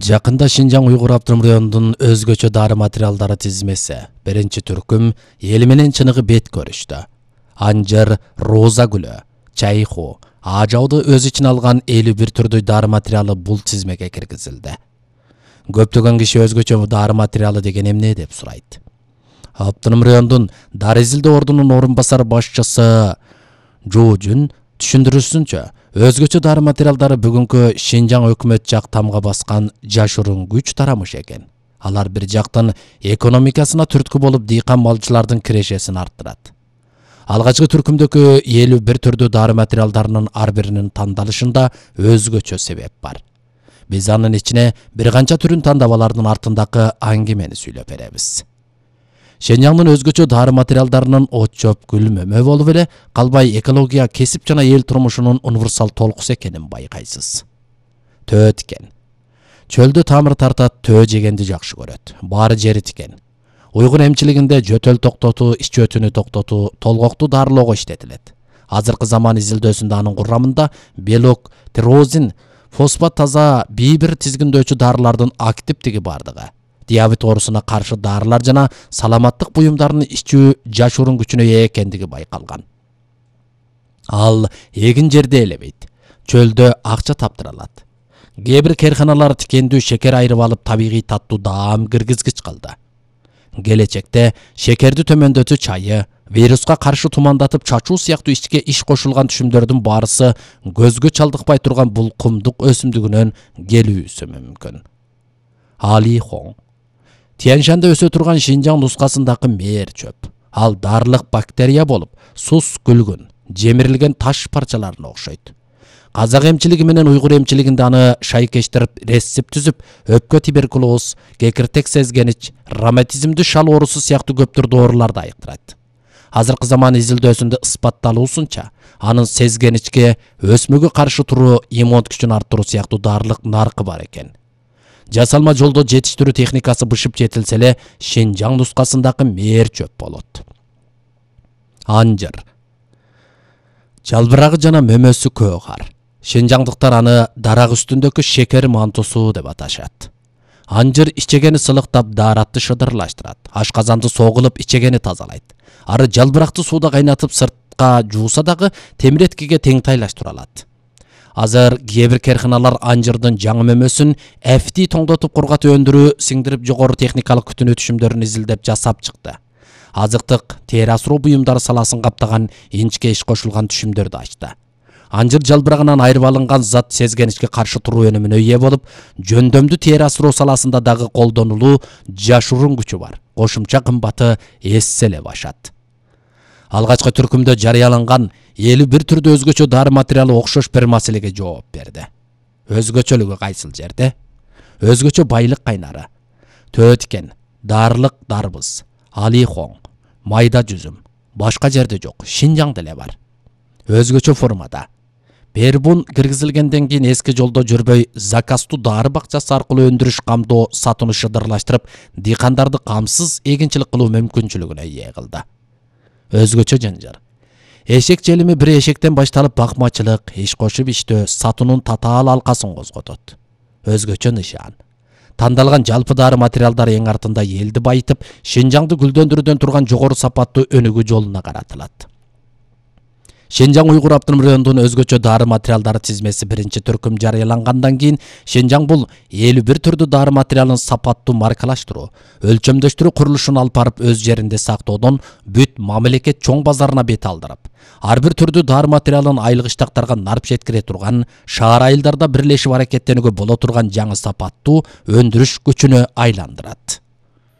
Жакында Шинжаң Уйгур автоном районунун өзгөчө дары материалдары тизмеси биринчи түркүм эли менен чыныгы бет көрүштү. Анжыр, роза гүлү, чайху, ажауду өз ичине алган 51 түрдүү дары материалы бул тизмеге киргизилди. Көптөгөн киши өзгөчө дары материалы деген эмне деп сурайт. Автоном райондун дары изилдөө ордунун орун басар башчысы Жужун түшүндүрүүсүнчө, өзгөчө дары материалдары бүгүнкү Шинжаң өкмөт жак тамга баскан жашыруун күч тарамыш экен. Алар бир жактан экономикасына түрткү болуп дыйкан малчылардын кирешесин арттырат. Алгачкы түркүмдөгү 51 түрдүү дары материалдарынын ар биринин тандалышында өзгөчө себеп бар. Биз анын ичине бир канча түрүн тандап алардын артындагы аңгемени сүйлөп беребиз. Шинжаңдын өзгөчө дары материалдарынын от чөп, гүл, мөмө болуп эле калбай экология, кесип жана эл турмушунун универсал толкусу экенин байкайсыз. Төө тикен. Чөлдө тамыр тартат, төө жегенди жакшы көрөт. Баары жери тикен. Уйгур эмчилигинде жөтөл токтотуу, ич өтүнү токтотуу, толгокту дарылоого иштетилет. Азыркы заман изилдөөсүндө анын курамында белок, тирозин, фосфат таза бир тизгиндөөчү дарылардын активдиги бардыгы, диабет оорусуна каршы дарылар жана саламаттык буюмдарын ичүү жашыруун күчүнө ээ экендиги байкалган. Ал эгин жерде элебейт, чөлдө акча таптыралат. Кээ бир керканалар тикендүү шекер айрып алып табигый таттуу даам киргизгич кылды. Келечекте шекерди төмөндөтүү чайы, вируска каршы тумандатып чачуу сыяктуу ичке иш кошулган түшүмдөрдүн баарысы көзгө чалдыкпай турган бул кумдук өсүмдүгүнөн келүүсү мүмкүн. Али Хоң. Тяньшанда өсө турган Шинжаң нускасындагы мээр чөп. Ал дарылык бактерия болуп, сус күлгүн, жемирилген таш парчаларына окшойт. Казак эмчилиги менен уйгур эмчилигинде аны шайкештирип, рецепт түзүп, өпкө туберкулоз, кекиртек сезгенич, роматизмдүү шал оорусу сыяктуу көптүр дооруларды айыктырат. Азыркы заман изилдөөсүндө ысбатталуусунча, анын сезгеничке, өсмөгө каршы туруу, иммун күчүн арттыруу сыяктуу дарылык наркы бар экен. Жасалма жолдо жетиштирүү техникасы бышып жетилсе эле Шинжаң нускасындагы мээр чөп болот. Анжыр. Жалбырагы жана мөмөсү көөгар. Шинжаңдыктар аны дарак үстүндөгү шекер мантусу деп аташат. Анжыр ичегени сылыктап, daarатты шыдырлаштырат. Ашказанды согулуп, ичегени тазалайт. Ары жалбыракты сууда кайнатып сыртка жууса дагы темиреткиге тең тайлаштыра алат. Азыр кээ бир керканалар анжырдын жаңы мөмөсүн эфти тоңдотуп кургатып өндүрүү, сиңдирип жогору техникалык күтүнүү түшүмдөрүн изилдеп жасап чыкты. Азыктык, тери асыроо буюмдары саласын каптаган инчке иш кошулган түшүмдөрдү ачты. Анжыр жалбырагынан айрып алынган зат сезгеничке каршы туруу өнүмүнө ээ болуп, жөндөмдүү тери асыроо саласында дагы колдонулуу жашыруун күчү бар. Кошумча кымбаты эссе эле башат. Алгачкы түркүмдө жарыяланган 51 түрдүү өзгөчө дары материалы окшош бир маселеге жооп берди. Өзгөчөлүгү кайсыл жерде? Өзгөчө байлык кайнары. Төө тикен, дарылык дарбыз, Али Хоң, майда жүзүм, башка жерде жок, Шинжаңда эле бар. Өзгөчө формада. Бербун киргизилгенден кийин эски жолдо жүрбөй, заказтуу дары бакчасы аркылуу өндүрүш, камдоо, сатууну шыдырлаштырып, дыйкандарды камсыз эгинчилик кылуу мүмкүнчүлүгүнө ээ кылды. Өзгөчө жанжар. Эшек желими бир эшектен башталып бакмачылык, иш кошуп иштөө, сатуунун татаал алкасын козготот. Өзгөчө нышан. Тандалган жалпы дары материалдар эң артында элди байытып, Шинжаңды гүлдөндүрүүдөн турган жогору сапаттуу өнүгүү жолуна каратылат. Шинжаң Уйгур автоном районунун өзгөчө дары материалдары тизмеси биринчи түркүм жарыялангандан кийин Шинжаң бул 51 түрдүү дары материалын сапаттуу маркалаштыруу, өлчөмдөштүрүү курулушун алып барып өз жеринде сактоодон бүт мамлекет чоң базарына бет алдырып, ар бир түрдүү дары материалын айылык иштактарга нарп жеткире турган, шаар айылдарда бирлешип аракеттенүүгө боло турган жаңы сапаттуу өндүрүш күчүнө айландырат.